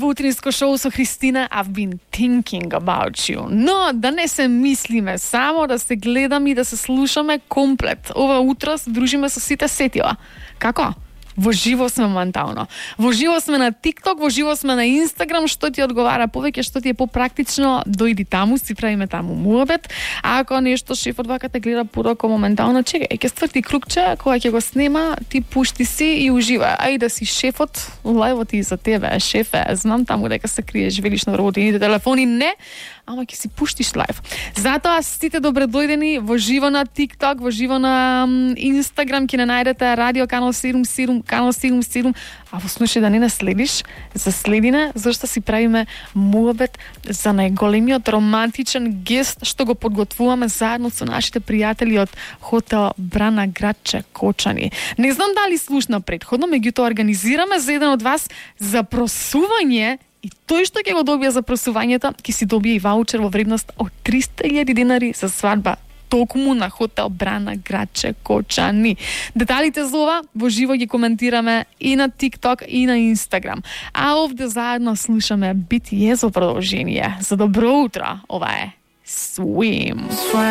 во утринско шоу со Христина. I've been thinking about you. Но да не се мислиме само, да се гледаме и да се слушаме комплет. Ова утро се дружиме со сите сетила. Како? Во живо сме моментално. Во живо сме на TikTok, во живо сме на Instagram, што ти одговара повеќе, што ти е попрактично, дојди таму, си правиме таму муабет. А ако нешто шефот вака те гледа порако моментално, чекај, ќе стврти кругче, кога ќе го снема, ти пушти си и ужива. Ај да си шефот, лајвот и за тебе, шефе, знам таму дека се криеш, велиш на вработените телефони, не, ама ќе си пуштиш лајв. Затоа сите добре дојдени во живо на TikTok, во живо на Instagram, ќе не најдете Радио Канал 77, Канал 77, а во случај да не не следиш, заследи не, зашто си правиме муабет за најголемиот романтичен гест што го подготвуваме заедно со нашите пријатели од хотел Брана градче Кочани. Не знам дали слушна претходно, меѓутоа организираме за еден од вас за просување. И тој што ќе го добие за просувањето, ќе си добие и ваучер во вредност од 300.000 денари за свадба токму на хотел Брана градче Кочани. Деталите за ова во живо ги коментираме и на TikTok и на Instagram. А овде заедно слушаме BTS за продолжение. За добро утро, ова е Swim.